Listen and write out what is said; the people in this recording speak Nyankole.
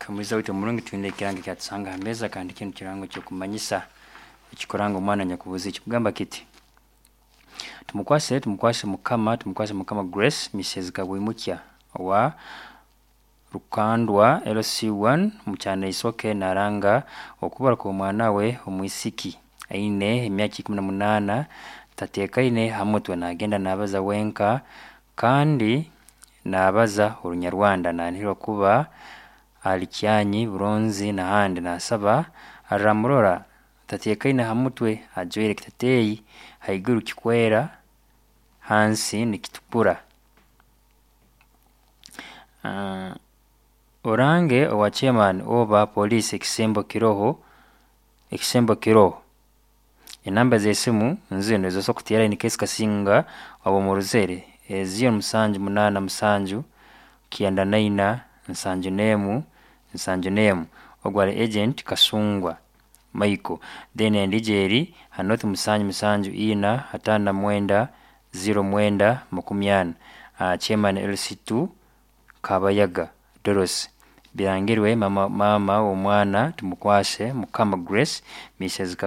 Omuhurikiza waitu omurungi, twine ekirango ekyatusanga ha meeza kandi kinu kirango ekyokumanyisa ekikuranga omwana anyakubuziire kikugamba kiti, Tumukwase Tumukwase Mukama Tumukwase Mukama Grace Mrs Kabwimukya owa Rukandwa LC1 Mukyana-Isoke naranga okubura kw'omwana we omwisiki aine emyaka 18, tateekaine ha mutwe, nagenda nabaza wenka kandi nabaza Orunyarwanda, nanihirwa kuba ali Kyanyi, Buronzi n'ahandi. Nasaba aramurora tateekaine ha mutwe, ajwaire ekiteteeyi haiguru kikwera hansi nikitukura. Orange owa chairman oba poliisi ekisembo kiroho, ekisembo kiroho. Enamba z'esimu nzinu ezosobora kuteera in case kasinga oba omurozere, ziro musanju munaana musanju, 94 71 71, ogu ali agent Kasungwa Michael. Then endiijo eri ha nooti musanju musanju ina, 59, 09, 40, chairman LC2 Kabayaga Dorothy. Birangirwe maama w'omwana Tumukwase Mukama Grace Mrs.